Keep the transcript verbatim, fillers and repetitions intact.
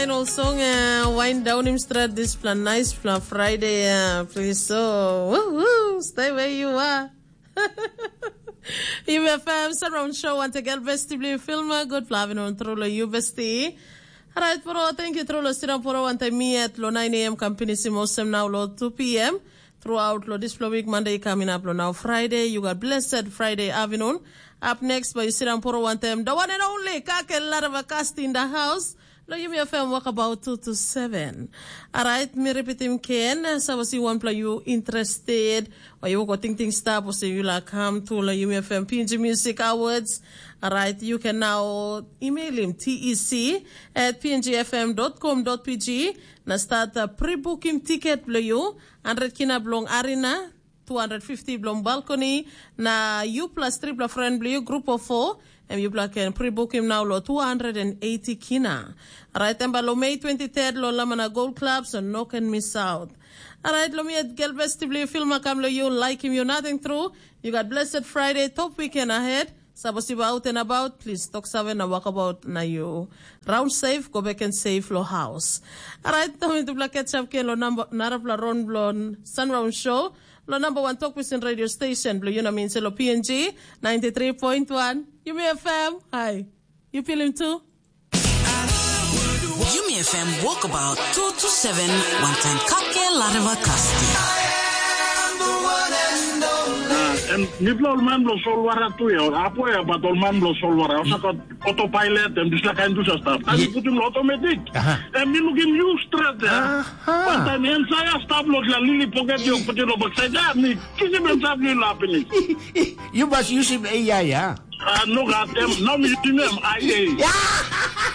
Final song, uh, wind down him straight this plan, nice plan Friday, uh, please. So, woo, woo, stay where you are. Yumi F M surround show once again, besti bli filma, good plavin on true lo you besti. Alright, poro, thank you true lo sira poro one time me at lo nine a m kam pinisim osem now lo two p m. Throughout lo dispela week, Monday coming up lo now Friday, you got blessed Friday afternoon. Up next, by you sit down poro one time, the one and only Kake Larava Cast in the house. Lo Yumi F M walk about two to seven. Alright, mi repeat him ken. Sa was you one play you interested, or you go think things stop, or say you like come to lo Yumi F M P N G Music Awards. Alright, you can now email him T E C at P N G F M dot com dot P G. Na start uh, pre-booking ticket blo you, hundred kina blong arena, two hundred fifty blong balcony, na you plus tripla friend blo you, group of four, and you can pre-book him now lo two hundred eighty kina. Alright, and by lo May twenty-third, lo Lamana Gold Club, so no can miss out. Alright, lo mi at Gelbes Tibli, film akam lo you, like him, you nothing through. You got blessed Friday, top weekend ahead. Sapos you out and about, please talk seven na walk about na you. Round safe, go back and safe lo house. Alright, tami tu blaket sap ke lo number narapla ron blon Sunround Show. Lo number one talk within radio station, blo you na mean lo P N G ninety-three point one. You may F M. Hi. You feel him too? Yumi F M Walkabout two two seven, one time kake lareva kasti. Em mipela ol man bilong solwara tu ya, ol apoya bat ol man bilong solwara, ol saka autopilot em dispela kain dusa stap. Kan putim lo automatic. Em mi lukim yu stret ya. Wantaim ensaia stap lo dispela lili poket yu putim lo baksait ya, mi kisim em stap yu la pinis. Yu mas yusim A I ya. Ah, no gat em, nau mi yusim em, ai ei.